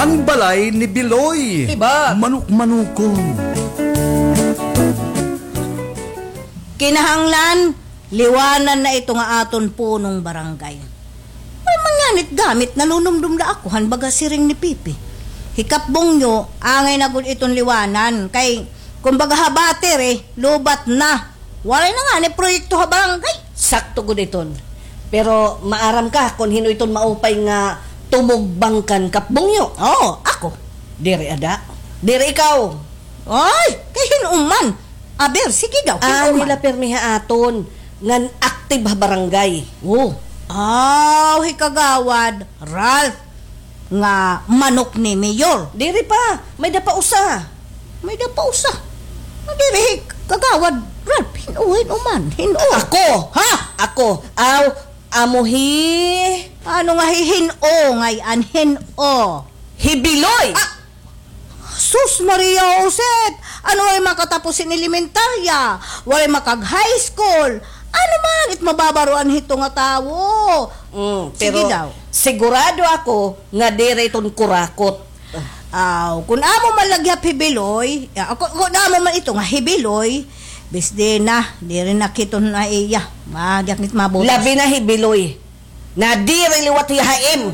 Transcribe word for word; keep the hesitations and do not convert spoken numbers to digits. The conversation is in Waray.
An balay ni Biloy. Hibat. Manok-manokon. Kinahanglan, liwanan na ito nga aton punong barangay. May man nganit gamit, nanunumdom la ako, han baga siring ni Pipi. Hi Kap Bungyo, angay na gud iton liwanan. Kay, kumbaga ha battery, lowbat na. Waray na ngani proyekto ha barangay. Sakto gud iton. Pero maaram ka kon hin-o iton maupay nga tumugbang kan Kap Bungyo? Oo, ako. Diri ada. Diri ikaw. Ay, kay hin-o man. Aber, sige daw, hin-o man. Nila pirmi ha aton ngan active ha barangay. Oh. Aw, hi Kagawad Ralph nga manok ni Mayor. Diri pa, may-ada pa usa. May-ada pa usa. Diri hi Kagawad Ralph, hin-o, hin-o man, hin-o. Ako. Ha? Ako. Aw, amo hi... Ano nga hi hin-o, ngay-an hin-o? Hi Biloy. Ah! Sus Maria Josep! Ano, waray makatapos hin elementarya, waray makag-high school. Ano man it mababaroan hito nga tawo? Mm, sige daw. Pero sigurado ako nga diri iton kurakot. Aw, kun amo man la gihap hi Biloy, ah, kun, kun amo man ito nga hi Biloy, bisdi na, diri na kiton na iya. Ma, di ak nit mabutas. Labi na hi Biloy. Nadiri liwat hiya ha im.